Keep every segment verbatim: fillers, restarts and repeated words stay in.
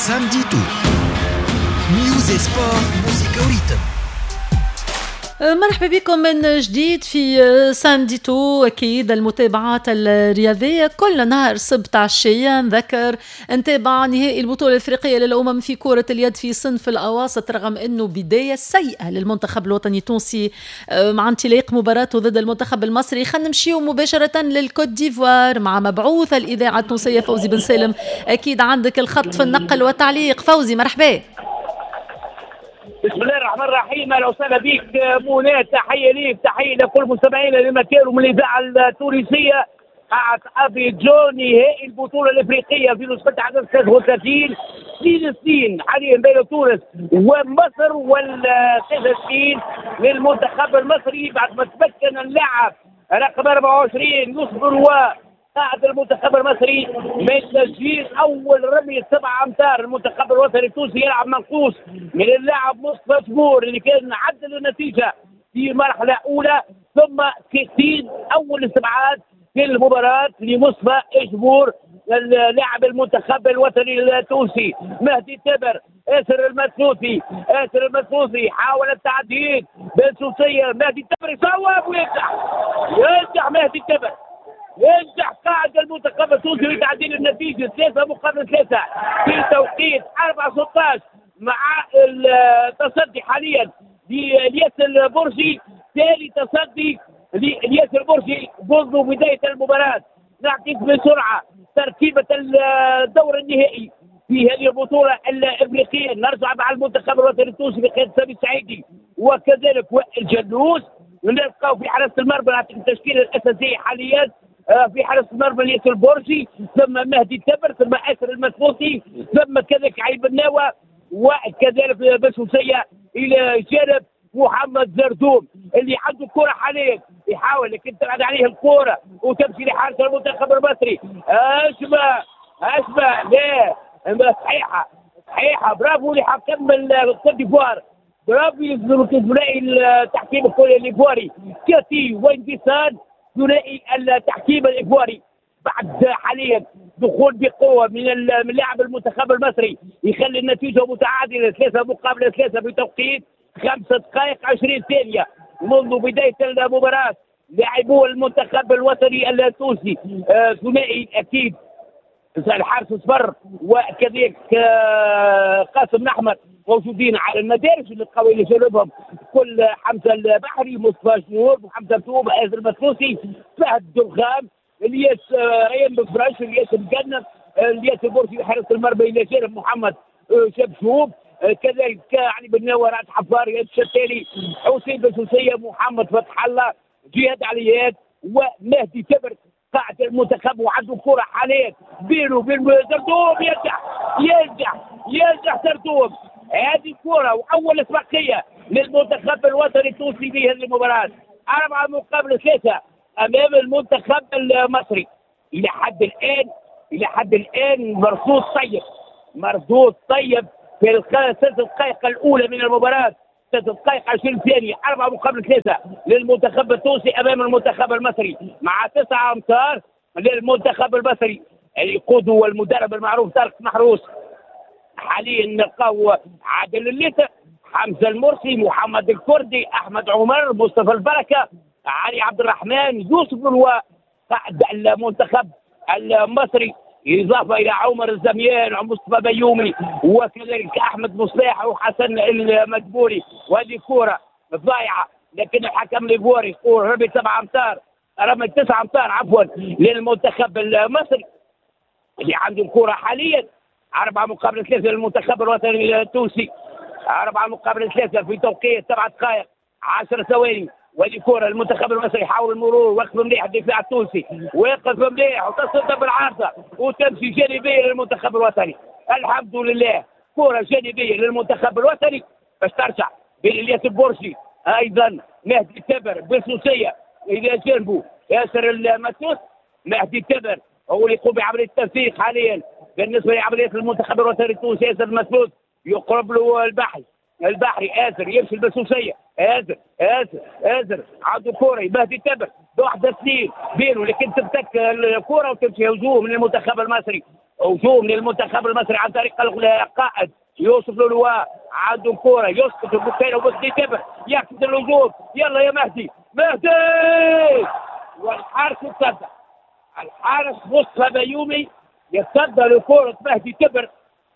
Samedi tout، news، sport، موزيكا و rythme. مرحبا بكم من جديد في samedi tout. اكيد المتابعات الرياضية كل نهار سبت عشيه. نذكر نتابع نهائي البطولة الافريقية للامم في كره اليد في صنف الاواسط، رغم انه بداية سيئه للمنتخب الوطني التونسي آه، مع انطلاق مباراته ضد المنتخب المصري. خلينا نمشيو مباشرة للكوت ديفوار مع مبعوث الاذاعة التونسية فوزي بن سالم. اكيد عندك الخط في النقل والتعليق. فوزي، مرحبا. بسم الله الرحمن الرحيم، اهلا وسهلا بك منى، تحية ليك، تحية لكل مستمعينا لما من الاذاعة التونسيه. قاعة ابيجان، نهائي البطولة الافريقية في نسخه عدد ثلاثة وثلاثين، اثنين اثنين حاليا بين تونس ومصر، والثلاثة اثنين للمنتخب المصري بعد ما تمكن اللاعب رقم أربعة وعشرين يوسف روا قائد المنتخب المصري من تسجيل اول رمي سبع امتار. المنتخب الوطني التونسي يلعب منقوص من اللاعب مصطفى جبور اللي كان عدل النتيجة في مرحلة اولى، ثم تسجيل اول استبعاد في المباراة لمصطفى جبور اللاعب المنتخب الوطني التونسي. مهدي تبر، اسر المثلوثي، اسر المثلوثي حاول التعديل بنسوسيه، مهدي تبر يصوب وينجح، ينجح مهدي تبر، ينجح قائد المنتخب التونسي لتعديل النتيجة ثلاثة مقابل ثلاثة في توقيت أربعة ستة عشر، مع التصدي حاليا لإلياس البرجي، ثاني تصدي لإلياس البرجي منذ بداية المباراة. نعطيك بسرعة ترتيبة الدور النهائي في هذه البطولة الإفريقية. نرجع مع المنتخب الوطني التونسي بقيادة سامي السعيدي وكذلك وائل جلوس. نلقاو في حراسة المرمى، نعطيك التشكيلة الأساسية حاليا آه، في حراسة المرمى الياس البرجي، ثم مهدي التبر، ثم اسر المثلوثي، ثم كذلك علي بناوه، وكذلك بسوسيه الى جانب محمد زردوم اللي عنده كرة حاليا، يحاول لكن تبعد عليه الكرة وتمشي لحارس المنتخب المصري. اسمع اسمع، لا، صحيحة صحيحة، برافو لحكم الكوت ديفوار، برافو لثنائي التحكيم الايفواري كاتي وينديسان، ثنائي التحكيم الايفواري. بعد حاليا دخول بقوة من من لاعب المنتخب المصري يخلي النتيجة متعادله ثلاثة مقابل ثلاثة بتوقيت خمسة دقائق عشرين ثانية منذ بداية المباراه. لاعبو المنتخب الوطني التونسي آه، ثنائي اكيد الحارس صفر وكذلك آه، قاسم الاحمر موجودين على المدارج اللي القوي اللي جنبهم كل حمزة البحري، مصطفى جنور، محمد توب، ازر المثلوثي، فهد درغام، الياس آه، ريان بفرش، الياس مقنن، الياس البرجي حارس المرمى الى جانب محمد آه، شبشوب، كذلك علي بن نوار، حفار، الشتالي، حسين بسوسيه، محمد فتح الله، جهاد عليات ومهدي تبر قاعد المنتخب. وعنده كرة حاليا بينه وبين زردوم، ينجح ينجح ينجح زردوم. هذه كرة وأول أسبقية للمنتخب الوطني التونسي في هذه المباراة، أربعة مقابل ثلاثة أمام المنتخب المصري. إلى حد الآن إلى حد الآن مردود طيب، مردود طيب في الثلاث دقائق الأولى من المباراة، ست دقائق عشرين ثانية، أربعة مقابل ثلاثة للمنتخب التونسي أمام المنتخب المصري، مع تسعة أمتار للمنتخب المصري اللي يقوده المدرب المعروف طارق محروس. حاليا نلقاو عادل الليث، حمزة المرسي، محمد الكردي، أحمد عمر، مصطفى البركة، علي عبد الرحمن، يوسف قائد المنتخب المصري، إضافة إلى عمر الزميان ومصطفى بيومي وكذلك أحمد مصلاح وحسن المدبوري. وهذه كرة ضايعة لكن الحكم الإيفواري يقول رمي سبعة أمتار، رمي تسعة أمتار عفوا للمنتخب المصري اللي عنده الكرة حاليا. أربعة مقابل ثلاثة للمنتخب الوطني التونسي، أربعة مقابل ثلاثة في توقيت سبعة دقائق عشر ثواني. وهذه كرة المنتخب المصري يحاول المرور، وقف مليح الدفاع التونسي، وقف مليح وتصدى بالعارضة وتمشي جانبية للمنتخب الوطني. الحمد لله، كرة جانبية للمنتخب الوطني باش ترجع بين الياس البرجي، ايضا مهدي التبر، بسوسية الى جانبه ياسر المسوس. مهدي التبر هو اللي يقوم بعملية التنسيق حاليا بالنسبة لعملية المنتخب الوطني التونسي. ياسر المسوس يقرب له البحري، البحري آزر يمشي البسوسيه، آزر آزر آزر عنده كوره، مهدي تبر بواحدة اثنين بينه لكن تمسك الكورة وتمشي هجوم من المنتخب المصري. هجوم للمنتخب المصري عن طريق القائد يوسف لولوا، عنده كرة يسقط البكيرة ومهدي تبر يقصد الهجوم، يلا يا مهدي، مهدي والحارس يتصدى، الحارس مصطفى بيومي يتصدى لكرة مهدي تبر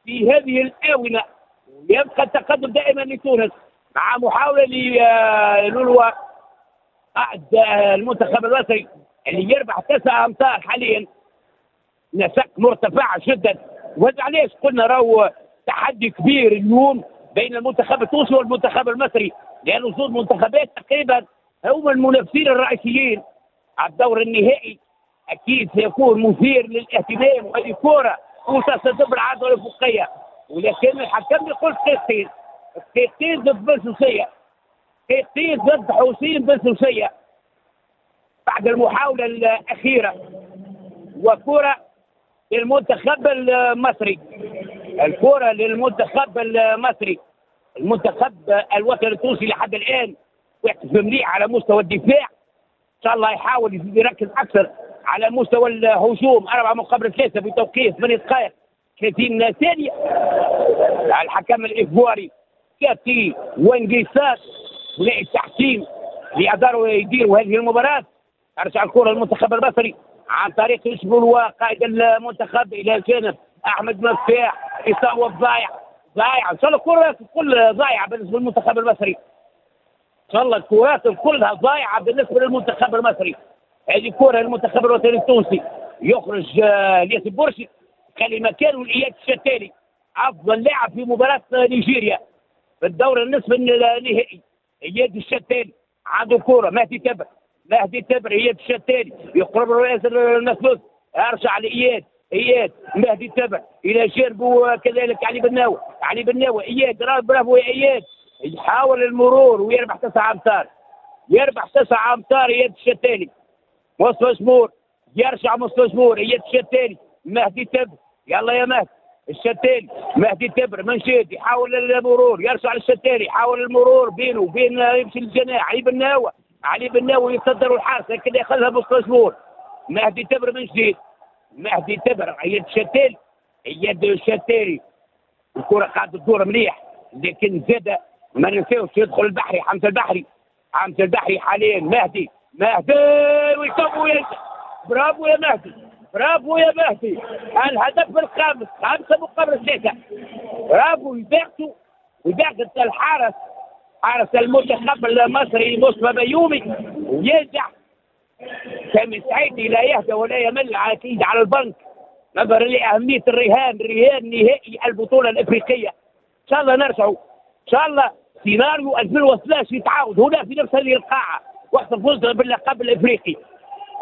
في هذه الآونة، ويبقى التقدم دائما لتونس مع محاولة للولوا قائد المنتخب المصري اللي يربح تسعة أمتار حاليا، نسق مرتفع جدا. وهذا علاش قلنا راهو تحدي كبير اليوم بين المنتخب التونسي والمنتخب المصري، لأن زوج منتخبات تقريبا هم المنافسين الرئيسيين على الدور النهائي، أكيد سيكون مثير للاهتمام. وهذه كرة وتصل بالعارضة الأفقية، ولكن الحكم يقول دقيقتين، دقيقتين ضد بن سوسية، دقيقتين ضد حسين بن سوسية بعد المحاولة الأخيرة. وكرة للمنتخب المصري، الكرة للمنتخب المصري. المنتخب الوطني التونسي لحد الآن واقف مليح على مستوى الدفاع، إن شاء الله يحاول يزيد يركز أكثر على مستوى الهجوم. أربعة مقابل ثلاثة في توقيت ثمانية دقائق ثلاثين ثانية. الحكم الإيفواري كاتي وانجيسات ثنائي التحكيم اللي قدروا يديروا هذه المباراة. أرجع الكرة للمنتخب المصري عن طريق يوسف قائد المنتخب إلى جانب أحمد مفتاح، يصوب ضايع ضايع. إن شاء الله الكرة الكل ضايعة بالنسبة للمنتخب المصري، إن شاء الله الكرات كلها ضايعة بالنسبة للمنتخب المصري. هذه كرة للمنتخب الوطني التونسي، يخرج الياس البرشي خلي مكانه لإياد الشتالي أفضل لاعب في مباراة نيجيريا في الدور النصف النهائي. إياد الشتالي عنده كرة، مهدي تبر، مهدي تبر، إياد الشتالي يقرب له المثلوث، أرجع لإياد، إياد مهدي تبر إلى جانبه كذلك علي بناوي، علي بناوي إياد، برافو يا إياد، يحاول المرور ويربح تسعة أمتار، يربح تسعة أمتار إياد الشتالي. مصطفى شمور يرجع، مصطفى شمور، إياد الشتالي، مهدي تبر، يلا يا مهدي الشتالي، مهدي تبر منشد يحاول المرور، يرجع للشتالي، يحاول المرور بينه وبين يمشي للجناح علي بناوي، علي بناوي يتصدر الحارس لكن ياخذها مصطفى شمور. مهدي تبر من جديد، مهدي تبر، إياد الشتالي، إياد الشتالي، الكرة قاعدة تدور مليح، لكن زاد ما ننساوش يدخل البحري، حمزة البحري، حمزة البحري حاليا، مهدي، مهدي ويصب وينجح، برافو يا مهدي، برافو يا مهدي، الهدف الخامس، خمسة مقابل ثلاثة، برافو. يباغتوا ويباغت الحارس، حارس المنتخب المصري مصطفى بيومي وينجح. سامي السعيدي لا يهدى ولا يمل اكيد على البنك نظرا لاهمية الرهان، رهان نهائي البطولة الافريقية. ان شاء الله نرجعوا، ان شاء الله سيناريو ألفين واثناش يتعاود هنا في نفس هذه القاعة وقت الفوز باللقب الافريقي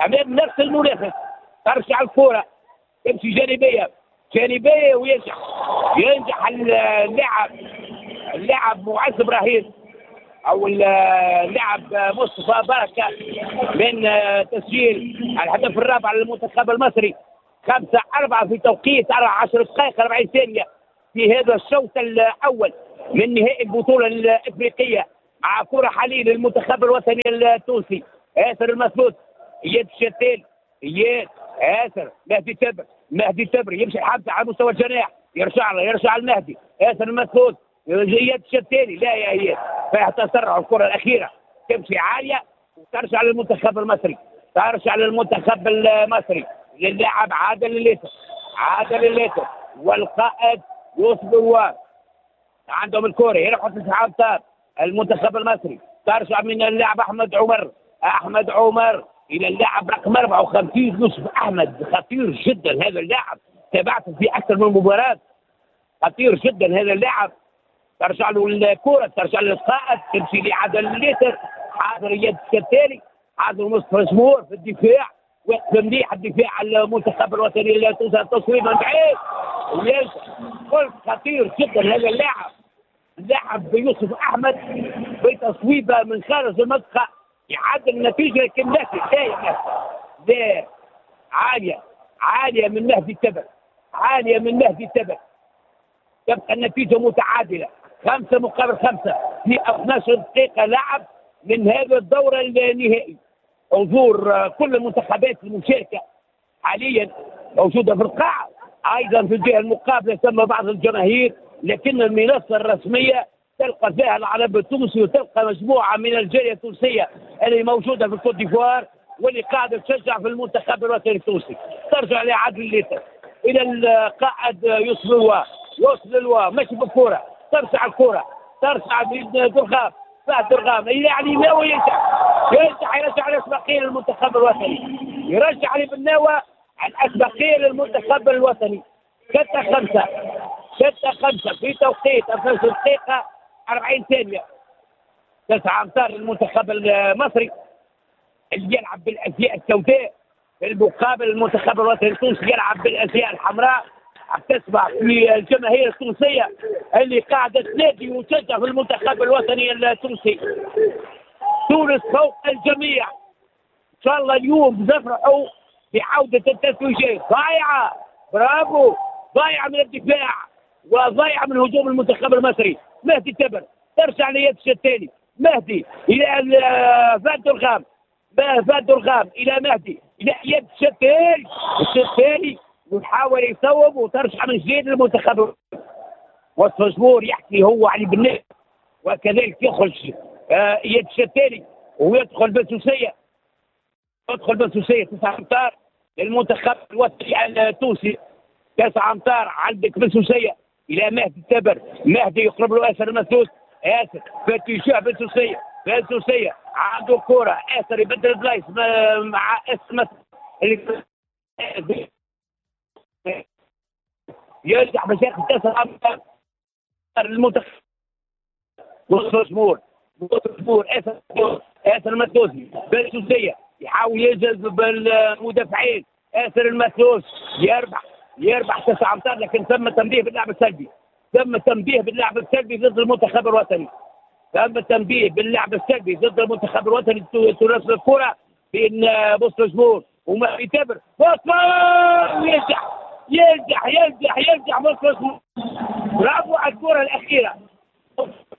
امام نفس المنافس. ترجع الكره تمشي جانبيه، جانبيه وينجح، ينجح اللاعب، اللاعب معز ابراهيم او اللاعب مصطفى بركة من تسجيل الهدف الرابع للمنتخب المصري. خمسة أربعة في توقيت أربع عشر دقائق أربعين ثانية في هذا الشوط الأول من نهائي البطولة الإفريقية، مع كرة حاليا للمنتخب الوطني التونسي. آسر المثلوث، إياد الشتال، إياد، آسر، مهدي تبر، مهدي تبر يمشي حمزة على مستوى الجناح، يرجع له، يرجع المهدي، آسر المثلوث، إياد الشتالي، لا يا إياد، فيها تسرع الكرة الأخيرة تمشي عالية وترجع للمنتخب المصري، ترجع للمنتخب المصري للاعب عادل الليث، عادل الليث والقائد يوسف الوار عندهم الكرة، يربحوا تسعة أمتار المنتخب المصري. ترجع من اللاعب أحمد عمر، أحمد عمر إلى اللاعب رقم أربعة وخمسين يوسف أحمد، خطير جدا هذا اللاعب، تابعته في أكثر من مباراة، خطير جدا هذا اللاعب. ترجع له الكرة، ترجع للقائد، تمشي لعادل الليث، حاضر إياد الشتالي، حاضر مصطفى شمور في الدفاع، وقف مليح الدفاع على المنتخب الوطني التونسي، التصويب من بعيد وينجح. قلت خطير جدا هذا اللاعب، اللاعب يوسف احمد بتصويبه من خارج المنطقة يعدل النتيجة، لكن لا لا لا عالية، عالية من مهدي التبر، عالية من مهدي التبر. تبقى النتيجة متعادله خمسة مقابل خمسة في اثناش دقيقة لعب من هذا الدور النهائي. حضور كل المنتخبات المشاركة حاليا موجودة في القاعة، ايضا في الجهة المقابلة ثم بعض الجماهير، لكن المنصة الرسمية تلقى فيها العلم التونسي وتلقى مجموعة من الجالية التونسية اللي موجودة في الكوت ديفوار واللي قاعدة تشجع في المنتخب الوطني التونسي. ترجع لعادل الليتر الى القائد يوسف الوا، يوسف الوا ماشي بالكرة، ترجع الكره، ترجع درغام، فهد درغام الى علي ناوي يرجع، يرجع يرجع الاسبقيه للمنتخب الوطني، يرجع علي بالناوي الاسبقيه للمنتخب الوطني. ستة خمسة ستة خمسة في توقيت اثني عشر دقيقة أربعين ثانية. تسعة أمتار للمنتخب المصري اللي يلعب بالأزياء السوداء، في المقابل المنتخب الوطني التونسي يلعب بالأزياء الحمراء. تسمع في الجماهير التونسية اللي قاعدة تنادي وتشجع في المنتخب الوطني التونسي. تونس فوق الجميع. إن شاء الله اليوم نفرحوا بعودة التتويجات. ضايعة، برافو، ضايعة من الدفاع وضايعة من هجوم المنتخب المصري. مهدي تبر ترجع ليد الثاني، مهدي الى فهد درغام، فهد درغام الى مهدي الى يد الشتالي، الشتالي ويحاول يصوب وترجع من جديد للمنتخب. وسط مجبور يحكي هو علي بن، وكذلك يخرج يد الشتالي ويدخل بسوسيه، يدخل بسوسيه. تسعة امتار للمنتخب الوطني التونسي، تسعة امتار عندك بسوسيه الى مهدي التبر، مهدي يقرب له اسر المسدود، اسر في اتجاه بسوسيه، بسوسيه عنده كرة، اسر يبدل بلايص مع اسر اللي يرجع باش ياخذ تسعة امتار للمنتخب. وسط جمهور، وسط جمهور اسر اسر المسدود، بسوسيه يحاول يجذب المدافعين، اسر المسدود يربح، يربح تسعة امتار، لكن تم تنبيه باللعب السلبي، تم تنبيه باللعب السلبي ضد المنتخب الوطني، تم تنبيه باللعب السلبي ضد المنتخب الوطني. تونس الكرة بين بوسط جمهور وما يتابر، بوسط يرجع يرجع يرجع يرجع بوسط جمهور، برافو على الكرة الأخيرة،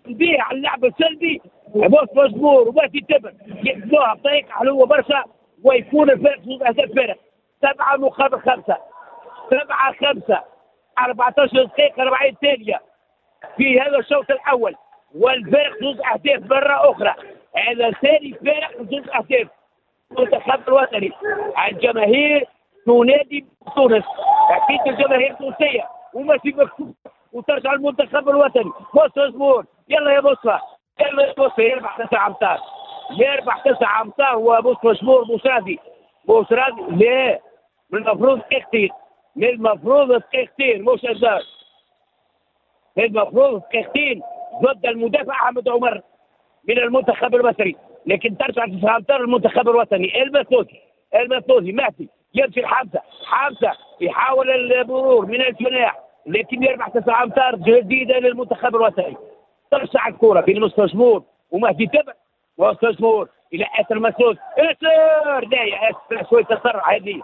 تنبيه على اللعب السلبي بوسط جمهور وما يتابر، يحسبوها بطريقة حلوة برشا ويكون الفارق زوج أهداف فارق، سبعة مقابل خمسة، سبعة خمسة، أربعة عشر دقيقة أربعين ثانية في هذا الشوط الأول، والفارق زوج أهداف مرة أخرى، هذا ثاني فارق زوج أهداف. المنتخب الوطني، الجماهير تنادي تونس، أكيد الجماهير التونسية وماشي مكتوب وترجع المنتخب الوطني. بوسط جمهور، يلا يا بوسطة، يلا يا بوسطة، يربح تسعة أمتار، يربح تسعة أمتار وبوسط جمهور بوسرادي، بوسرادي لا، من المفروض دقيقتين، من المفروض دقيقتين مش أزار، من المفروض دقيقتين ضد المدافع أحمد عمر من المنتخب المصري، لكن ترجع تسعة أمتار المنتخب الوطني. المثلوثي، المثلوثي مهدي يمشي لحمزة، حمزة يحاول المرور من الجناح لكن يربح تسعة أمتار جديدة للمنتخب الوطني. ترجع الكرة بين مستجمور ومهدي تبع، ومستجمور إلى آسر مسعود، آسر لا يا آسر شوية تسرع، هذه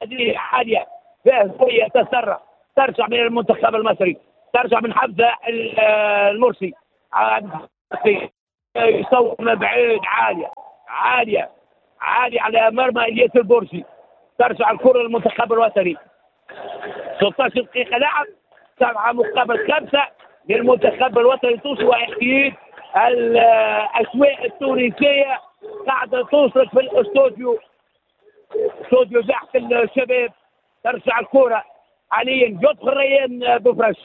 هذه عالية فيها شوية تسرع. ترجع من المنتخب المصري، ترجع من حمزة المرسي، يصور من بعيد عالية عالية عالية على مرمى الياس البرجي. ترجع الكرة للمنتخب الوطني. ستة عشر دقيقة لعب، سبعة مقابل خمسة للمنتخب الوطني التونسي، وأكيد الأسواق التونسية قاعدة توصل في الاستوديو، استوديو زحف الشباب. ترجع الكرة حاليا، يدخل ريان بوفرش،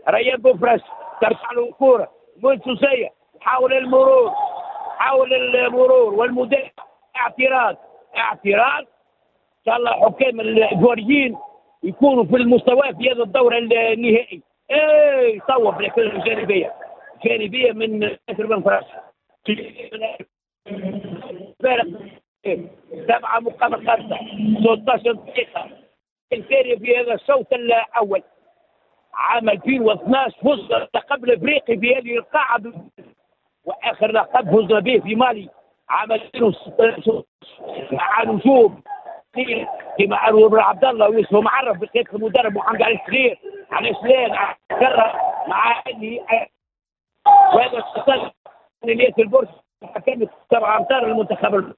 ريان بوفرش ترجع له الكرة منسوسية، حاول المرور، حاول المرور والمدافع، اعتراض اعتراض. ان شاء الله حكام الجواريين يكونوا في المستوى في هذا الدور النهائي. ايه صوب لكن جانبيه، جانبيه من ياسر بن فرش. سبعة مقابل خمسة، ستة عشر دقيقة الثانية في هذا الشوط الأول. عام ألفين واثناش فز اللقب الافريقي في هذه القاعة، واخر لقب فزنا به في مالي عام ألفين وستة مع نجوم كما انور بن عبد الله ويوسف معرف بقيادة المدرب محمد علي الصغير، علي سلام مع وهذا الشخص الياس البرج. حكمت سبعة امتار للمنتخب،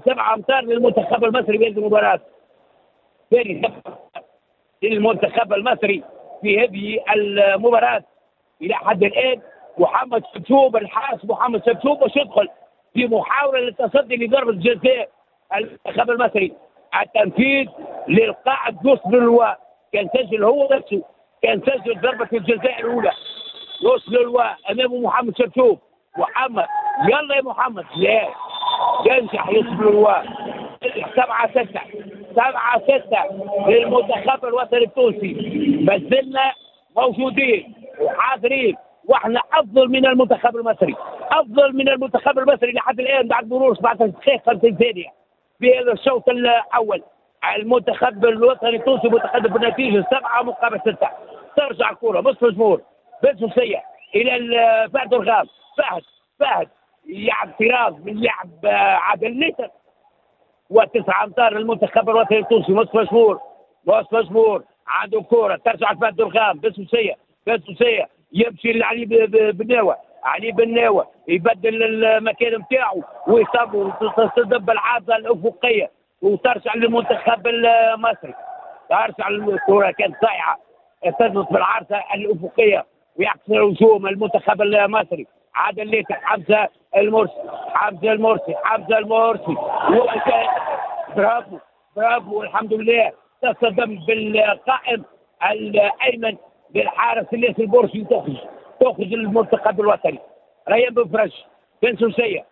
سبعة امتار للمنتخب المصري في هذه المباراة. ثاني للمنتخب المصري في هذه المباراة الى حد الان. محمد شبشوب الحارس محمد شبشوب باش يدخل في محاولة للتصدي لضربه جزاء المنتخب المصري. التنفيذ للقائد يوسف للواء، كان سجل هو نفسه، كان سجل ضربه الجزاء الاولى. يوسف للواء امامه محمد شبشوب، محمد يلا يا محمد، لا ينجح يوسف للواء. سبعة ستة سبعة ستة للمنتخب الوطني التونسي. ما زلنا موجودين وحاضرين، واحنا افضل من المنتخب المصري، افضل من المنتخب المصري لحد الان بعد مرور سبعة عشر دقيقة خمسين ثانية في هذا الشوط الاول. المنتخب الوطني التونسي متقدم بالنتيجة سبعة مقابل ستة. ترجع الكره مصر الجمهور بالسوسيه الى فهد الغام، فهد فهد يلعب اعتراض من لاعب عادل نيتر، وتسعة امتار للمنتخب الوطني التونسي. مصطفى مشهور، مصطفى مشهور عنده كره ترجع لفهد الغام بالسوسيه، بالسوسيه يمشي لعلي بناوه، علي بناوه يبدل المكان نتاعو ويصاب وتصطدم بالعارضه الافقية وترجع للمنتخب المصري. ترجع الكره كانت ضايعة، ارتدت بالعارضه الافقية ويعكس الهجوم المنتخب المصري. عادل ليتر، حمزة المرسي، حمزة المرسي، حمزة المرسي، برافو برافو والحمد لله. تصطدم بالقائم الايمن للحارس الياس البورسي، تخرج تخرج المنتخب الوطني. ريان بن فرج بن سوسيه،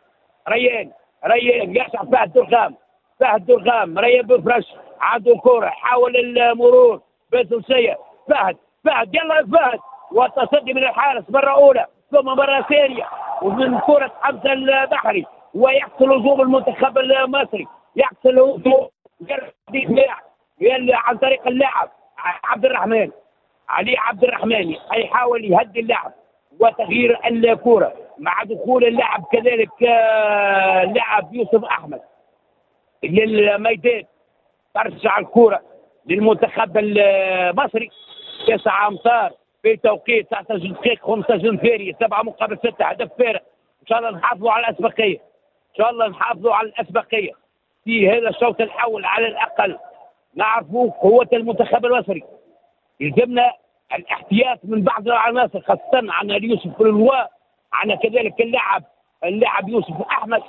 ريان ريان يرجع فهد درغام، فهد درغام، ريان بن فرج عنده كرة، حاول المرور بن سوسيه، فهد فهد يلا فهد، والتصدي من الحارس مرة أولى ثم مرة ثانية ومن كرة حمزة البحري، ويحصل هجوم المنتخب المصري، يحصل هجوم عن طريق اللاعب عبد الرحمن، علي عبد الرحمن يحاول يهدي اللاعب وتغيير الكرة مع دخول اللاعب كذلك اللاعب يوسف أحمد للميدان. ترجع الكرة للمنتخب المصري. تسعة أمتار في توقيت تسعة عشر دقيقة خمسة عشر ثانية، سبعة مقابل ستة، هدف فارق. إن شاء الله نحافظوا على الأسبقية، إن شاء الله نحافظوا على الأسبقية في هذا الشوط الأول على الأقل. نعرفوا قوة المنتخب المصري، يلزمنا الاحتياط من بعض العناصر، خاصة عن يوسف للواء، عن كذلك اللاعب اللاعب يوسف أحمد.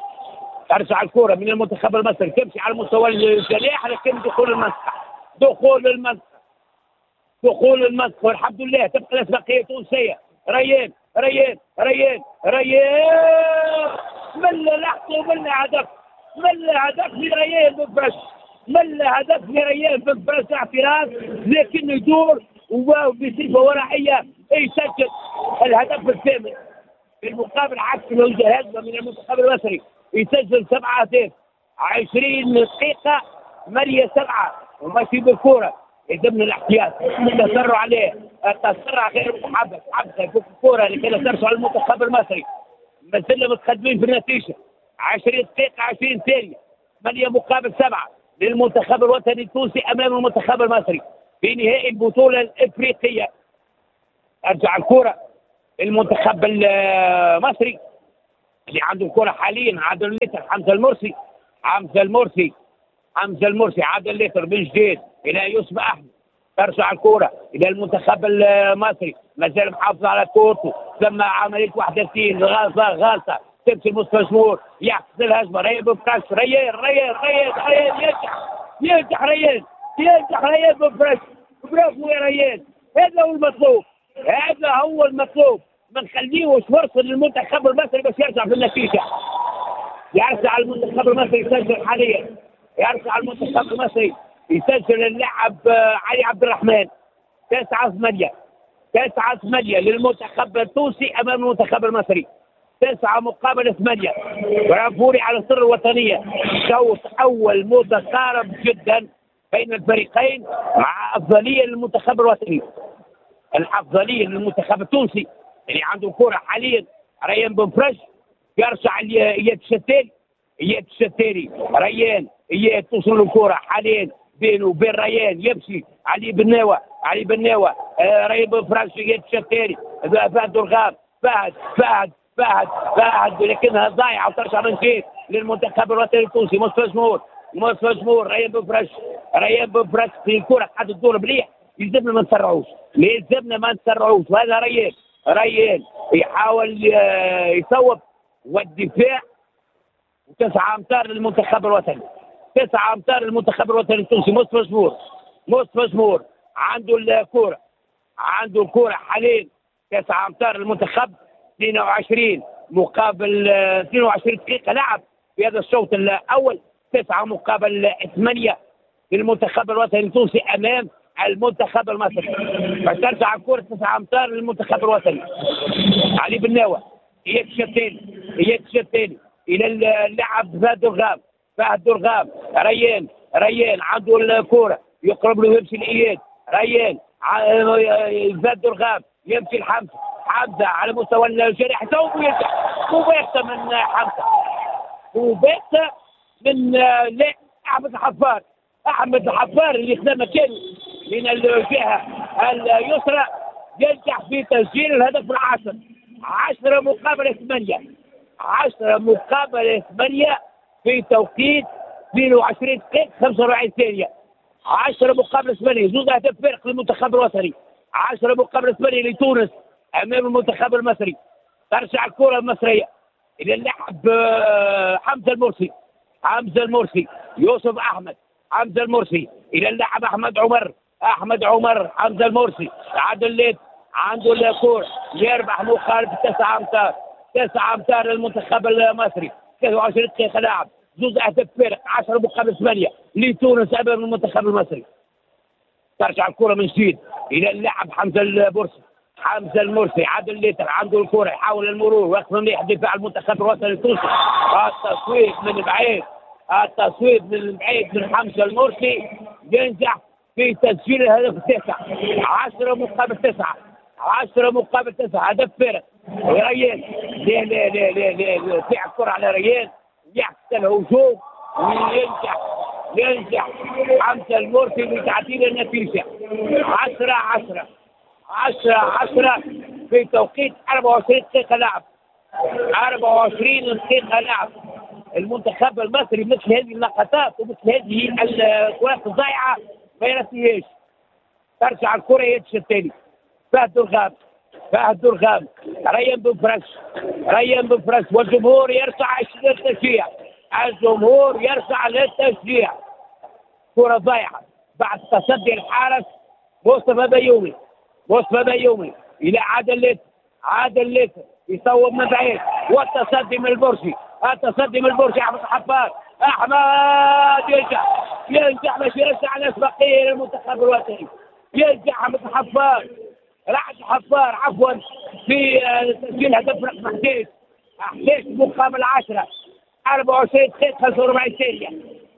ترجع الكرة من المنتخب المصري، تمشي على مستوى الجناح، لكن دخول المنطقة، دخول المنطقة، دخول المنطقة، والحمد لله تبقى الأسبقية تونسية. ريان ريان ريان ريان، من لحظة ومن هدف، من هدف لريان بن فرج، من هدف لريان بن فرج، اعتراض لكنه يدور وبصفة ورائية يسجل الهدف الثامن. في المقابل عكس الهجمة من المنتخب المصري يسجل سبعة أهداف، عشرين دقيقة ثمانية سبعة وماشي بالكرة. يلزمنا الاحتياط، التسرع عليه، التسرع غير محبب، حمزة يفك الكرة لكي لا ترجع للمنتخب المصري. ما زلنا متقدمين في النتيجة، عشرين دقيقة عشرين ثانية، ثمانية مقابل سبعة للمنتخب الوطني التونسي أمام المنتخب المصري في نهائي البطولة الإفريقية. أرجع الكرة المنتخب المصري اللي عنده الكرة حاليا عادل ليتر، حمزة المرسي، حمزة المرسي، حمزة المرسي، عادل ليتر من جديد إلى يوسف أحمد. ترجع الكرة إلى المنتخب المصري، ما زال محافظ على كورته، ثم عملية واحد وثلاثين غلطة غلطة تمشي المصطفى شمور، يعكس الهجمة، ريان بن فرج، ريان ريان ريان ريان ينجح ينجح ريان ينجح ريان بن فرج، برافو يا ريان، هذا هو المطلوب، هذا هو المطلوب، ما نخليهوش فرصة للمنتخب المصري باش يرجع في النتيجة. يرجع المنتخب المصري يسجل حاليا، يرجع المنتخب المصري يسجل اللاعب علي عبد الرحمن. تسعة ثمانية، تسعة ثمانية للمنتخب التونسي أمام المنتخب المصري، تسعة مقابل ثمانية. برافوري على السر الوطنية، شوط أول متقارب جدا بين الفريقين مع أفضلية للمنتخب الوطني، الأفضلية للمنتخب التونسي اللي عنده كرة حاليا. ريان بن فرج يرجع إياد الشتالي، إياد الشتالي، ريان إياد توصل الكرة حاليا بينه وبين ريان، يمشي علي بناوة، علي بناوة، آه ريان بن فرج، إياد الشتالي، فهد الغام، فهد فهد فهد فهد، لكنها ضايعة وترجع من جديد للمنتخب الوطني التونسي. مصطفى جمهور، مصطفى جمهور، ريان بن فرج، ريان بن فرج في الكرة قاعد تدور مليح، يلزمنا ما نسرعوش، يلزمنا ما نسرعوش. وهذا ريان، ريان يحاول يصوب، والدفاع تسعة امتار للمنتخب الوطني، تسعة امتار للمنتخب الوطني التونسي. مصطفى جمهور، مصطفى جمهور عنده الكرة، عنده الكرة حاليا، تسعة امتار للمنتخب، اثنين وعشرين مقابل اثنين وعشرين دقيقة لعب في هذا الشوط الأول، تسعة مقابل ثمانية للمنتخب الوطني التونسي أمام المنتخب المصري. فترجع الكرة تسعة أمتار للمنتخب الوطني. علي بن ناوة يكشف الثاني، يكشف الثاني إلى اللاعب فهد درغام، فهد درغام، ريان، ريان عنده الكرة، يقرب له يمشي لإياد، ريان فهد درغام يمشي لحمزة، حمزة على مستوى الجريح يصوب ويرجع، مباشرة من حمزة، مباشرة من لا أحمد الحفار، أحمد الحفار اللي خدا مكانه من الجهة اليسرى ينجح في تسجيل الهدف العاشر. عشرة مقابل ثمانية، عشرة مقابل ثمانية في توقيت اثنين وعشرين دقيقة خمسة وأربعين ثانية. عشرة مقابل ثمانية، زوج أهداف فارق للمنتخب الوطني. عشرة مقابل ثمانية لتونس أمام المنتخب المصري. ترجع الكرة المصرية إلى اللاعب حمزة المرسي، حمزة المرسي، يوسف أحمد، حمزة المرسي إلى اللاعب أحمد عمر، أحمد عمر، حمزة المرسي، عادل ليت عنده الكرة، يربح مخالفة تسعة أمتار، تسعة أمتار للمنتخب المصري، ثلاثة وعشرين دقيقة لعب، زوج أهداف فارق، عشرة مقابل ثمانية لتونس أمام المنتخب المصري. ترجع الكرة من جديد إلى اللاعب حمزة المرسي، حمزة المرسي، عادل ليتر عنده الكرة، يحاول المرور، واقف مليح دفاع المنتخب الوطني التونسي. التصويب من بعيد، التصويب من بعيد من حمزة المرسي ينجح في تسجيل الهدف التاسع. عشرة مقابل تسعة، عشرة مقابل تسعة، هدف فارق. ريان لا لا لا لا لا، تلعب الكرة على ريان، يعكس الهجوم وينجح، ينجح حمزة المرسي بتعديل النتيجة. عشرة عشرة، عشرة عشرة في توقيت أربعة وعشرين دقيقة لعب، أربعة وعشرين دقيقة لعب. المنتخب المصري مثل هذه اللقطات ومثل هذه الكرات الضائعة ما يرسيهاش. ترجع الكرة يدش الثاني، فهد درغام، فهد درغام، ريان بن فرش، ريان بن فرش، والجمهور يرفع للتشجيع، الجمهور يرفع للتشجيع. كرة ضائعة بعد تصدي الحارس مصطفى بيومي، مصطفى بيومي إلى عادل ليت، عادل ليت يصوب من بعيد، والتصدي من البرشي، التصدي من البرشي، أحمد الحفار، أحمد ينجح، ينجح باش يرجع الأسبقية للمنتخب الوطني. ينجح أحمد الحفار، رعد الحفار عفوا، في تسجيل هدف رقم أحد عشر، أحد عشر مقابل عشرة، أربعة وعشرين دقيقة خمسة وأربعين ثانية،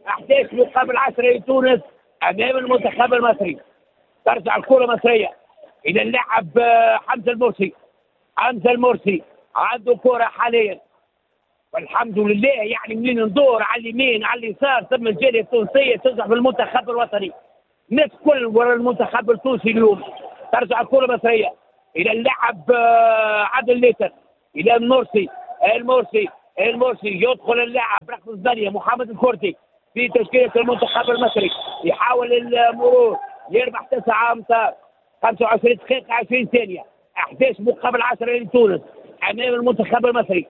أحد عشر مقابل عشرة لتونس أمام المنتخب المصري. ترجع الكرة المصرية إلى اللاعب حمزة المرسي، حمزة المرسي عنده كرة حاليا، والحمد لله. يعني منين ندور على اليمين على اليسار ثم الجالية التونسية تنجح بالمنتخب الوطني، الناس كل ورا المنتخب التونسي اليوم. ترجع الكرة المصرية إلى اللاعب عادل ليتر، إلى المرسي، المرسي، المرسي يدخل اللاعب رقم ثمانية محمد الكردي في تشكيلة المنتخب المصري، يحاول المرور، يربح تسعة أمتار، خمسة وعشرين دقيقة عشرين ثانية، أحد عشر مقابل عشرة لتونس أمام المنتخب المصري.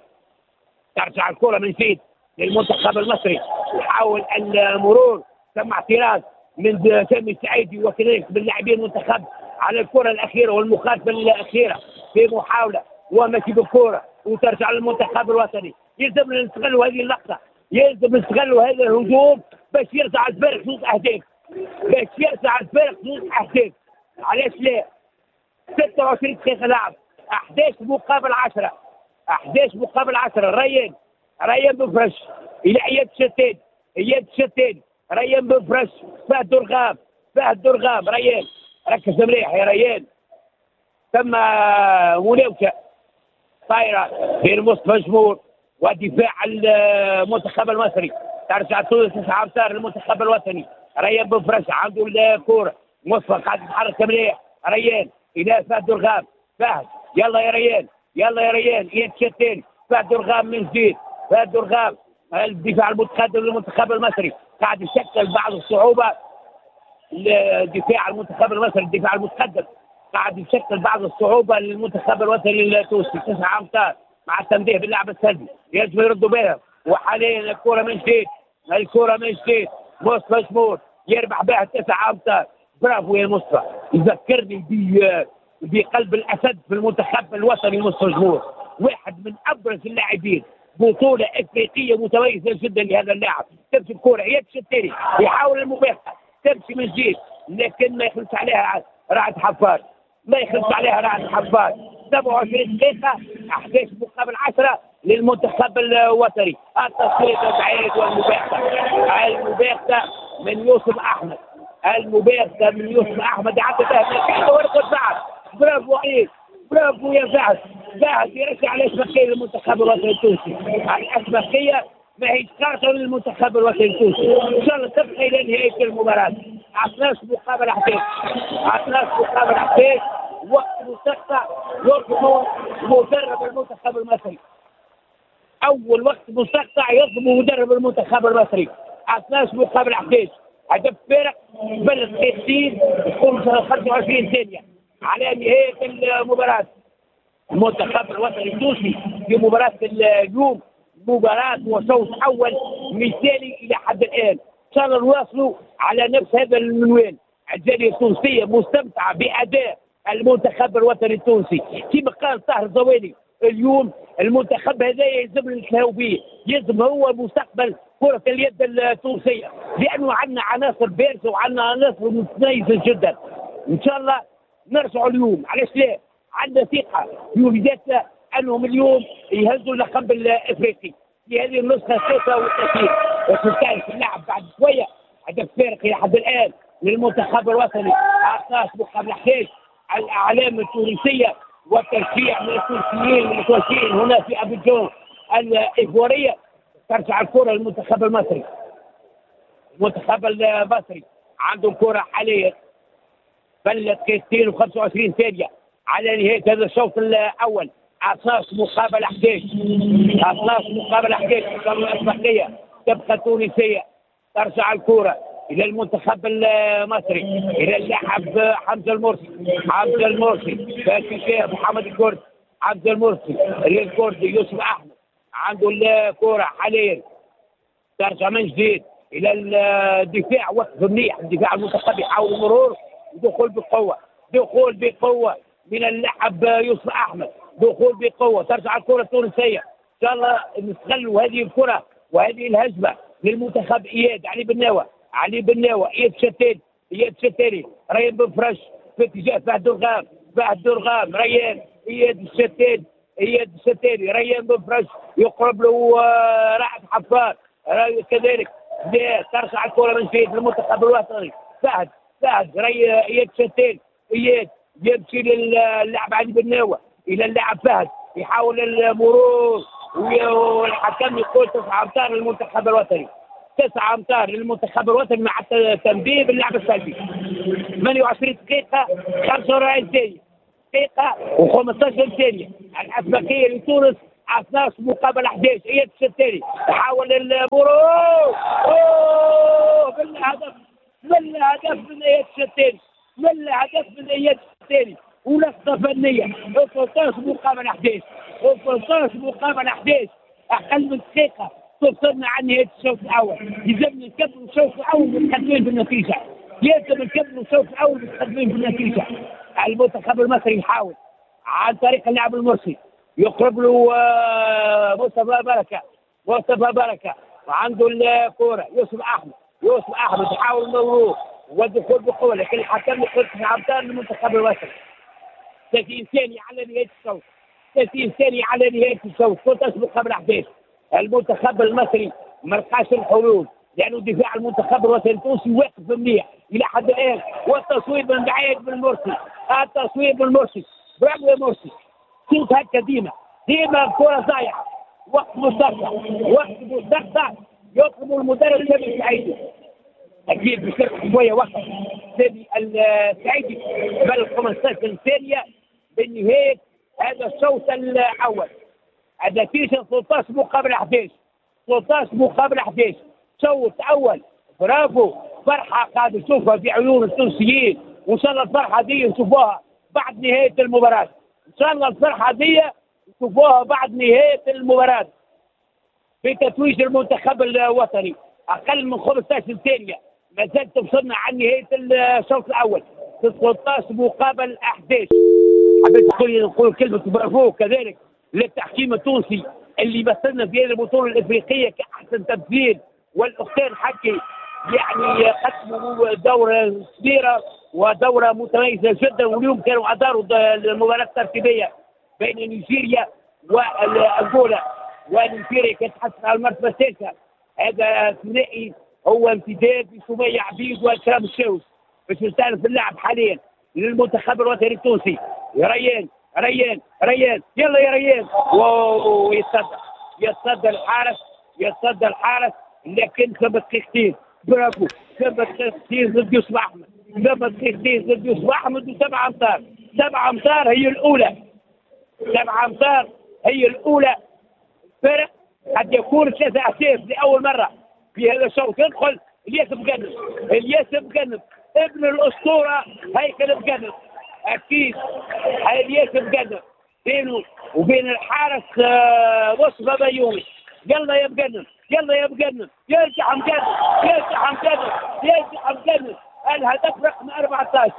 ترجع الكرة من جديد للمنتخب المصري، يحاول المرور، تم اعتراض من سامي السعيدي وكذلك من لاعبين المنتخب على الكرة الأخيرة والمخالفة الأخيرة في محاولة ومشي بالكرة وترجع للمنتخب الوطني. يلزم نستغلوا هذه اللقطة، يلزم نستغلوا هذا الهجوم باش يرجع الفرق زوج أهداف، باش يرجع الفرق زوج أهداف. علاش لا؟ ستة وعشرين دقيقة لعب، أحد عشر مقابل عشرة، أحد عشر مقابل عشرة. ريان، ريان بن فرش إلى إياد شتان، إياد شتان، ريان بن فرش، فهد درغام، فهد درغام، ريان ركز مليح يا ريان. ثم مناوشة طايرة بين مصطفى جمهور ودفاع المنتخب المصري. ترجع تونس تسعة أمتار للمنتخب الوطني. ريان بن فرش عنده الكورة، مصطفى قاعد يتحرك مليح، ريان إلى فهد درغام، فهد يلا يا ريان، يلا يا ريان، إياد شتان، فهد درغام من جديد، فهد درغام الدفاع المتقدم للمنتخب المصري قاعد يشكل بعض الصعوبة الدفاع المنتخب المصري، الدفاع المتقدم قاعد يشكل بعض الصعوبة للمنتخب الوطني التونسي. تسعة امتار مع التنبيه باللعب السلبي يجب يردوا بها. وحاليا الكره من جديد، الكره من جديد مصطفى جمهور يربح بها تسعة امتار. برافو يا مصطفى، يذكرني بقلب الاسد في المنتخب الوطني مصطفى جمهور، واحد من ابرز اللاعبين، بطوله افريقية متميزة جدا لهذا اللاعب. تمشي الكره يمشي الثاني يحاول المباغته، تمشي من جديد لكن ما يخلص عليها رعد حفار، ما يخلص عليها رعد حفار. سبعة وعشرين دقيقة أحد عشر مقابل عشرة للمنتخب الوطني. التصويت البعيد والمباغتة، المباغتة من يوسف أحمد، المباغتة من يوسف أحمد، عدت ورقة بعد. برافو عليك، برافو يا فهد. فهد يرجع الأسبقية للمنتخب الوطني التونسي، الأسبقية ما هي خاطر للمنتخب الوطني التونسي. إن شاء الله تبقى إلى نهاية المباراة. اثنا عشر مقابل أحد عشر، اثنا عشر مقابل أحد عشر، وقت مستقطع يطلب مدرب المنتخب المصري. أول وقت مستقطع يطلب مدرب المنتخب المصري. اثنا عشر مقابل أحد عشر، هدف فارق بل دقيقتين خمسة وعشرين ثانية على نهاية المباراة. المنتخب الوطني التونسي في مباراة اليوم مباراة وشوط أول مثالي إلى حد الآن. إن شاء الله نواصلوا على نفس هذا المنوال. الجالية التونسية مستمتعة بأداء المنتخب الوطني التونسي. كما قال طاهر الزوالي اليوم المنتخب هذا يلزم نتلاهوا به، يلزم هو مستقبل كرة اليد التونسية، لأنه عندنا عناصر بارزة وعندنا عناصر متميزة جدا. إن شاء الله نرجعوا اليوم، علاش لا؟ عندنا ثقة في وليداتنا أنهم اليوم يهزوا اللقب الأفريقي في هذه النسخة الثالثة والثلاثين. وتستأنف اللعب بعد شوية. هدف فارق إلى حد الآن للمنتخب الوطني اثنا عشر مقابل أحد عشر. الأعلام التونسية والتشجيع من التونسيين المتواجدين هنا في أبيجان الإيفوارية. ترجع الكرة للمنتخب المصري. المنتخب المصري عنده الكرة حاليا بل دقيقتين وخمسة وعشرين ثانية على نهاية هذا الشوط الأول. اثنا عشر مقابل أحد عشر، اثنا عشر مقابل أحد عشر. الأسبقية تبقى تونسية. ترجع الكرة إلى المنتخب المصري، إلى اللاعب حمزة المرسي، حمزة المرسي في محمد الكردي، حمزة المرسي للكردي يوسف أحمد عنده الكرة حاليا. ترجع من جديد إلى الدفاع، وقف منيح الدفاع المنتخب يحاول المرور، دخول بقوة، دخول بقوة من اللاعب يوسف أحمد، دخول بقوة. ترجع الكرة التونسية، إن شاء الله نستغلوا هذه الكرة وهذه الهجمة للمنتخب. إياد علي بناوة، علي بناوة، إياد شتاني، إياد شتاني، ريان بن فرج في اتجاه فهد درغام، فهد درغام، ريان، إياد الشتاني، إياد الشتاني، ريان بن فرج يقرب له رعد حفار كذلك. ترجع الكرة من جديد للمنتخب الوطني. فهد، فهد، ري إياد شتاني، إياد يمشي للاعب علي بناوة، إلى اللاعب فهد يحاول المرور والحكم يقول تسعة أمتار للمنتخب الوطني، تسعة أمتار للمنتخب الوطني مع التنبيه باللعب السلبي. ثمانية وعشرين دقيقة خمسة وأربعين ثانية، دقيقة وخمسة عشر ثانية. الأسبقية لتونس اثنا عشر مقابل أحد عشر. إياد الشتاني يحاول المرور، أوه بالهدف، بالهدف من إياد الشتاني، بالهدف من إياد الشتاني، ولقطة فنية. ثلاثة عشر مقابل أحد عشر، ثلاثة عشر مقابل أحد عشر، أقل من دقيقة توصلنا عن نهاية الشوط الأول. يلزمنا نكملوا الشوط الأول متقدمين بالنتيجة، لازم نكملوا الشوط الأول متقدمين بالنتيجة. المنتخب المصري يحاول عن طريق اللاعب المرسي، يقرب له مصطفى بركة، مصطفى بركة وعنده الكرة يوسف أحمد، يوسف أحمد يحاول المرور والدخول بقوة، لكن الحكم يقول تسعة أمتار للمنتخب المصري. ثلاثين ثانية على نهاية الشوط، ثلاثين ثانية على نهاية الشوط، ثلاثة عشر مقابل أحد عشر. المنتخب المصري ما لقاش الحلول لأنه دفاع المنتخب الوطني التونسي واقف منيح إلى حد الآن. والتصويب من بعيد من مرسي، التصويب من مرسي، برافو يا مرسي. شوف هكا ديما ديما الكرة ضايعة. وقت مستقطع، وقت مستقطع يطلب المدرب سامي السعيدي، أكيد باش يربح شوية وقت سامي السعيدي بل خمسة عشر ثانية بنهاية هذا الشوط الأول. النتيجة ثلاثة عشر مقابل أحد عشر، ثلاثة عشر مقابل أحد عشر، شوط أول. برافو فرحه قاعد نشوفها في عيون التونسيين، وان شاء الله الفرحة دي نشوفوها بعد نهاية المباراة. ان شاء الله الفرحة دي نشوفوها بعد نهاية المباراة بتتويج المنتخب الوطني. اقل من خمسطاش ثانية ما زالت وصلنا عن نهاية الشوط الاول، تسعطاش مقابل أحد عشر. حبيت نقول نقول كلمة برافو كذلك للتحكيم التونسي اللي مثلنا في هذه البطولة الافريقية كاحسن تمثيل، والاختين حكي يعني قدموا دوره كبيرة ودوره متميزة جدا، واليوم كانوا اداروا المباراة الترتيبية بين نيجيريا وانغولا، ونيجيريا كانت تحصل على المرتبة الثالثة. هذا ثنائي هو امتداد لسمية عبيد واكرام الشاوش باش يستأنف اللعب حاليا للمنتخب الوطني التونسي. ريان ريان ريان يلا يا ريان، ويتصدى يتصدى الحارس يتصدى الحارس، لكن ثم دقيقتين. برافو، ثم دقيقتين ضد يوسف احمد، ثم دقيقتين ضد يوسف احمد وسبع امتار، سبع امتار هي الاولى، سبع امتار هي الاولى. فرق قد يكون ثلاثة اهداف لاول مرة في هذا الشوط. يدخل الياس مقنب، الياس مقنب ابن الاسطورة هيكل مقنب، اكيد الياس مقنب بينه وبين الحارس مصطفى بيومي. يلا يا مقنب، يلا يا مقنب، يرجع مقنب، يرجع مقنب، يرجع مقنب. الهدف رقم أربعطاش،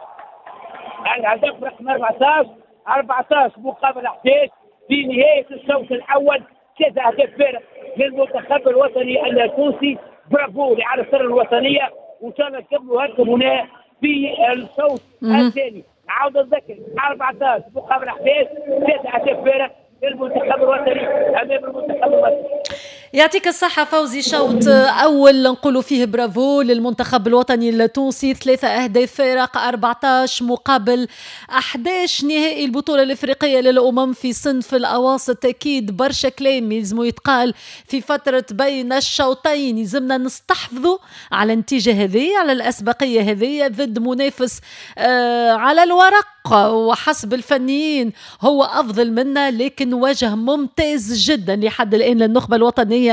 الهدف رقم أربعطاش، أربعطاش مقابل أحد عشر في نهاية الشوط الأول. ثلاثة أهداف فارق للمنتخب الوطني التونسي. برافو لعناصر الوطنية، وإن شاء الله نكملوا هكا هنا في الشوط الثاني. عاود نذكر أربعطاش مقابل أحد عشر، ثلاثة أهداف فارق للمنتخب الوطني أمام المنتخب المصري. يعطيك الصحة فوزي. شوط أول نقولوا فيه برافو للمنتخب الوطني التونسي، ثلاثة أهداف فارق، أربعطاش مقابل أحد عشر، نهائي البطولة الإفريقية للأمم في صنف الأواسط. أكيد برشا كلام يلزمو يتقال في فترة بين الشوطين، يلزمنا نستحفظوا على النتيجة هذه، على الأسبقية هذه ضد منافس آه على الورق وحسب الفنيين هو أفضل منا، لكن وجه ممتاز جدا لحد الآن للنخبة الوطنية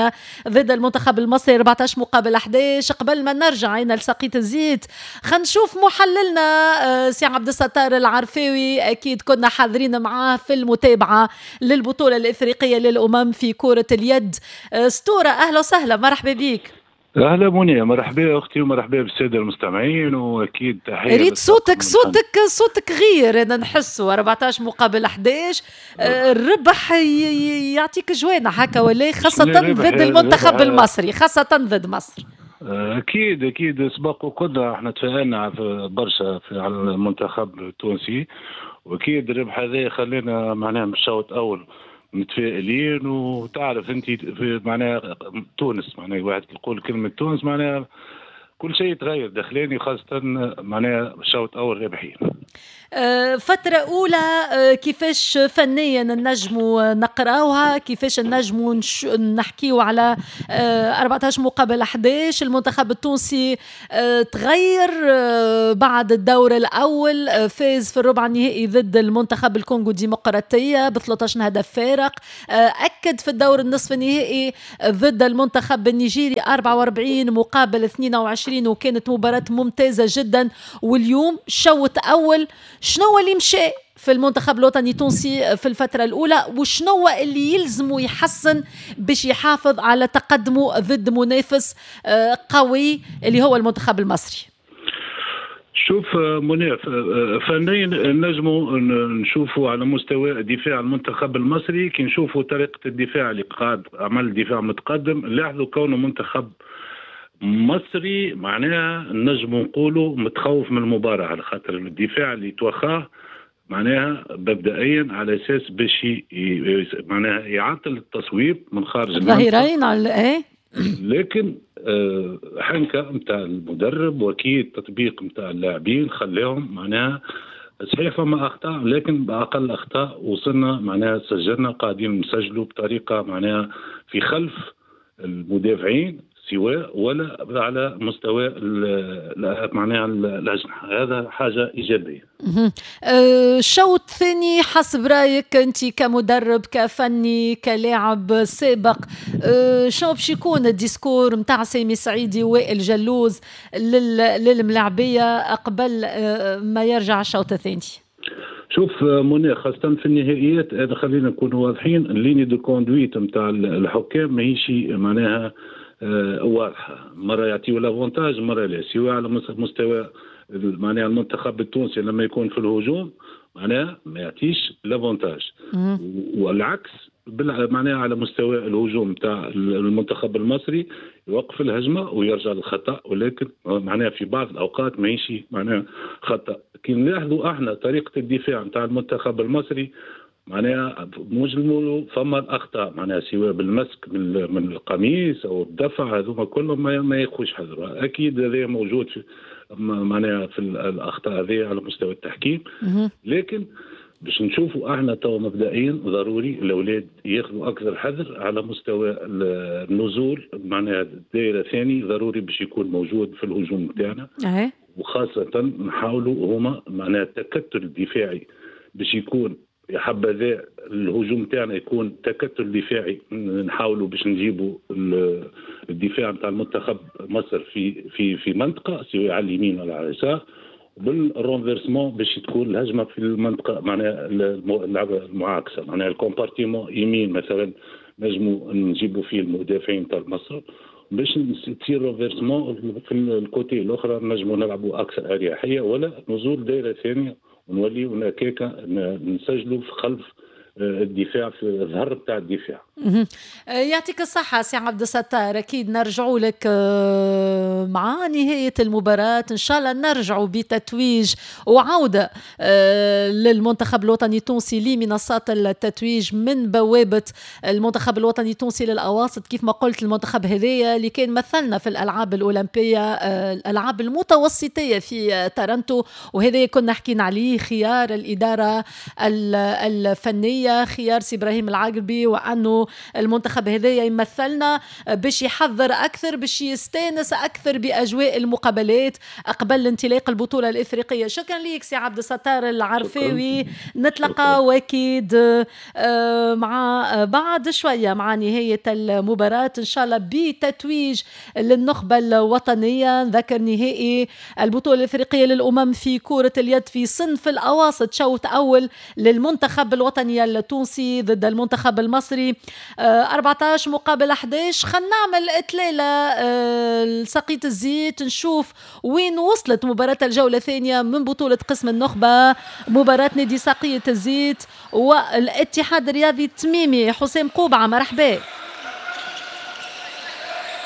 ضد المنتخب المصري، أربعطاش مقابل أحد عشر. قبل ما نرجع عين لسقية الزيت خلينا نشوف محللنا سي عبد الستار العرفاوي، أكيد كنا حاضرين معاه في المتابعة للبطولة الإفريقية للأمم في كرة اليد. ستورة، أهلا وسهلا، مرحبا بك. اهلا منيا، مرحبا اختي ومرحبا بالساده المستمعين، واكيد تحية. ريت صوتك صوتك صوتك غير، انا نحسه أربعطاش مقابل أحد عشر، الربح يعطيك جوانح هكا ولا، خاصة ضد المنتخب المصري، خاصة ضد مصر. اكيد اكيد سبق وقلنا احنا تفائلنا برشا على المنتخب التونسي، واكيد الربح هذا خلينا معناها من الشوط الاول متفائلين. وتعرف انت معناها تونس، معناها واحد يقول كلمة تونس معناها كل شيء يتغير داخلاني، خاصة معناها الشوط الاول رابحين. فترة أولى كيفاش فنيا نجموا نقراوها، كيفاش نجموا نحكيو على أربعطاش مقابل أحد عشر؟ المنتخب التونسي تغير بعد الدور الأول، فاز في الربع النهائي ضد المنتخب الكونغو الديمقراطية ب ثلاثطاش هدف فارق، أكد في الدور النصف النهائي ضد المنتخب النيجيري أربعة وأربعين مقابل اثنين وعشرين، وكانت مباراة ممتازة جدا. واليوم شوط أول، شنو اللي مشى في المنتخب الوطني التونسي في الفترة الأولى، وشنو اللي يلزمه يحسن باش يحافظ على تقدمه ضد منافس قوي اللي هو المنتخب المصري؟ شوف مناف، فنيا نجموا نشوفوا على مستوى دفاع المنتخب المصري، كي نشوفوا طريقة الدفاع اللي قاعد عمل دفاع متقدم، لاحظوا كونه منتخب مصري معناها نجم نقولوا متخوف من المباراة، على خاطر الدفاع اللي توخاه معناها مبدئيا على اساس باش معناها يعطل التصويب من خارج الظهيرين على ايه، لكن حنكه نتاع المدرب واكيد تطبيق نتاع اللاعبين خلاهم معناها صحيح فما اخطاء، لكن باقل اخطاء وصلنا معناها سجلنا، قاعدين نسجلوا بطريقة معناها في خلف المدافعين، سواء ولا على مستوى معناها الاجنحة، هذا حاجة ايجابية. الشوط الثاني حسب رايك انت كمدرب كفني كلاعب سابق، شنو باش يكون ال discours نتاع سامي سعيدي وائل جلوز للملاعبيه قبل ما يرجع الشوط الثاني؟ شوف منى، خاصة في النهائيات هذا خلينا نكونوا واضحين، ال ligne de conduite نتاع الحكام ماهيش معناها واضحة، مرة يعطيو l'avantage مرة لا، سواء على مستوى معناها المنتخب التونسي لما يكون في الهجوم معناها ما يعطيش l'avantage، والعكس معناها على مستوى الهجوم تاع المنتخب المصري يوقف الهجمة ويرجع للخطا، ولكن معناها في بعض الاوقات ماهيش معناها خطا. كي نلاحظوا احنا طريقه الدفاع نتاع المنتخب المصري معناها مجمل فما الاخطاء، معناها سواء بالمسك من, من القميص او الدفع، هذوما كلهم ما, ما ياخذوش حذر. اكيد هذا موجود في معناها في الاخطاء هذه على مستوى التحكيم، لكن باش نشوفوا احنا تو مبدئيا ضروري الاولاد ياخذوا اكثر حذر على مستوى النزول، معناها الدائرة الثاني ضروري باش يكون موجود في الهجوم نتاعنا، وخاصة نحاولوا هما معناها التكتل الدفاعي باش يكون يا حبذا الهجوم تاعنا يكون تكتل دفاعي، نحاولوا باش نجيبوا الدفاع نتاع المنتخب مصر في في في منطقة سواء على اليمين ولا على اليسار، بال renversement باش تكون الهجمة في المنطقة معناها المعاكسة، معناها ال compartiment يمين مثلا نجموا نجيبوا فيه المدافعين تاع مصر باش تصير renversement في ال côté الاخرى، نجموا نلعبوا اكثر اريحية ولا نزول دائرة ثانية ونوليو هكاكا نسجلوا في خلف الدفاع في الظهر بتاع الدفاع. يعطيك الصحة سي عبد الستار، أكيد نرجعوا لك مع نهاية المباراة إن شاء الله، نرجعوا بتتويج وعودة للمنتخب الوطني التونسي لمنصات التتويج من بوابة المنتخب الوطني التونسي للأواسط. كيف ما قلت المنتخب هذايا اللي كان مثلنا في الألعاب الأولمبية، الألعاب المتوسطية في تورنتو، وهذا كنا حكينا عليه خيار الإدارة الفنية، خيار سي إبراهيم العقربي، وأنه المنتخب هذايا يمثلنا باش يحضر أكثر، باش يستانس أكثر بأجواء المقابلات قبل انطلاق البطولة الإفريقية. شكرا لك سي عبد الستار العرفاوي، نتلقى واكيد مع بعد شوية مع نهاية المباراة إن شاء الله بتتويج للنخبة الوطنية. نذكر نهائي البطولة الإفريقية للأمم في كرة اليد في صنف الأواسط، شوط أول للمنتخب الوطني التونسي ضد المنتخب المصري أربعة عشر مقابل أحد عشر. خلينا نعمل إطلالة لسقية الزيت، نشوف وين وصلت مباراة الجولة الثانية من بطولة قسم النخبة، مباراة نادي سقية الزيت والاتحاد الرياضي التميمي. حسام قوبعة مرحبا.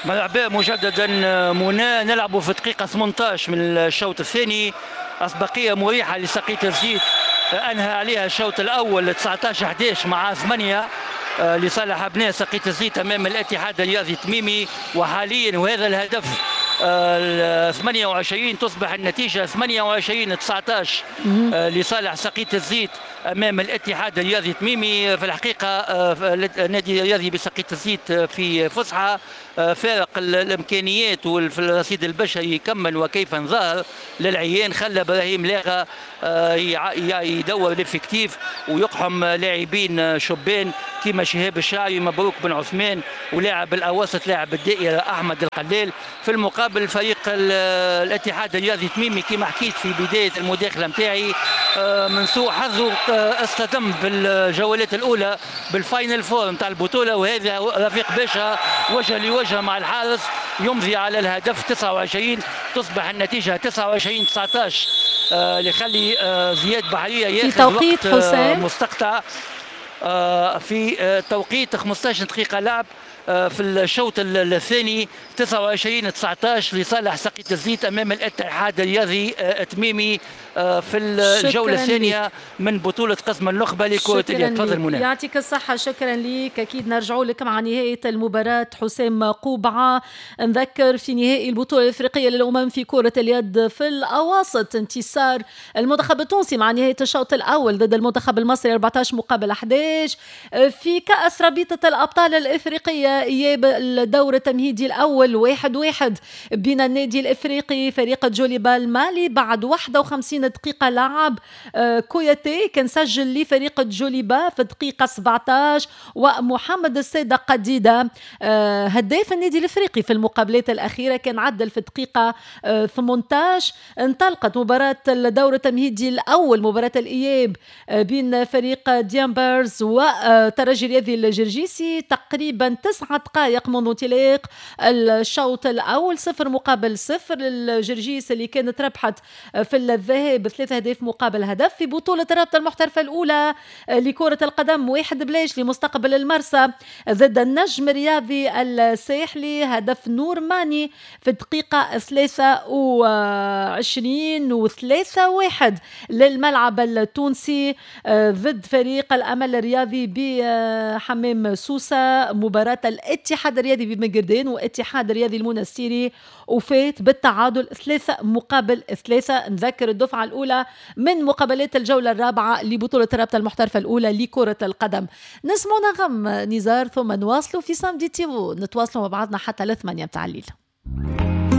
مرحبا مجددا منى. نلعب في دقيقة ثمانية عشر من الشوط الثاني، أسبقية مريحة لسقية الزيت أنهى عليها الشوط الأول تسعة عشر أحد عشر مع ثمانية لصالح أبناء سقية الزيت أمام الاتحاد الرياضي التميمي. وحاليا وهذا الهدف ثمانية وعشرين تصبح النتيجة ثمانية وعشرين تسعة عشر لصالح سقية الزيت أمام الاتحاد الرياضي التميمي. في الحقيقة النادي الرياضي بسقية الزيت في فسحة، فارق الإمكانيات وفي الرصيد البشري كما وكيف ظهر للعيان، خلى إبراهيم لاغا يدور l'effectif ويقحم لاعبين شبان كما شهاب الشعري، مبروك بن عثمان، ولاعب الأواسط لاعب الدائرة أحمد القلال. في المقابل فريق الاتحاد الرياضي التميمي كما حكيت في بداية المداخلة نتاعي من سوء حظه اصطدم في الجولات الأولى بال final four نتاع البطولة، وهذا رفيق باشا وجه لوجه مع الحارس يمضي على الهدف تسعة وعشرين، تصبح النتيجة تسعة وعشرين تسعة عشر اللي يخلي زياد بحرية ياخذ توقيت وقت حسام مستقطع في توقيت خمسة عشر دقيقة لعب في الشوط الثاني تسعة وعشرين تسعة عشر لصالح سقية الزيت امام الاتحاد الرياضي التميمي في الجولة الثانية من بطوله قسم النخبة لكرة اليد. تفضل منى. يعطيك الصحة، شكرا لك. اكيد نرجعوا لك مع نهاية المباراة حسام قوبعه. نذكر في نهائي البطولة الافريقية للامم في كره اليد في الاواسط انتصار المنتخب التونسي مع نهاية الشوط الاول ضد المنتخب المصري أربعة عشر مقابل أحد عشر. في كاس رابطه الابطال الافريقية إياب الدور التمهيدي الأول واحد واحد بين النادي الإفريقي فريق جوليبا المالي. بعد واحد وخمسين دقيقة لعب كوياتي كان سجل لفريق جوليبا في الدقيقة سبعة عشر، ومحمد السادة قديدة هداف النادي الإفريقي في المقابلات الأخيرة كان عدل في الدقيقة ثمانية عشر. انطلقت مباراة الدور التمهيدي الأول، مباراة الإياب بين فريق ديامبرز وترجي الرياضي الجرجيسي. تقريبا تسعة دقائق منذ انطلاق الشوط الأول، صفر مقابل صفر للجرجيس اللي كانت ربحت في الذهاب ثلاثة أهداف مقابل هدف. في بطولة الرابطة المحترفة الأولى لكرة القدم، واحد بلاش لمستقبل المرسى ضد النجم الرياضي الساحلي، هدف نور ماني في الدقيقة ثلاثة وعشرين، وثلاثة واحد للملعب التونسي ضد فريق الأمل الرياضي بحمام سوسة. مباراة الاتحاد الرياضي ببنقردان واتحاد الرياضي المنستيري وفات بالتعادل ثلاثة مقابل ثلاثة. نذكر الدفعة الأولى من مقابلات الجولة الرابعة لبطولة الرابطة المحترفة الأولى لكرة القدم. نسمع نغم نزار ثم نواصلوا في samedi تيفو، نتواصلوا مع بعضنا حتى لثمانية متاع الليل.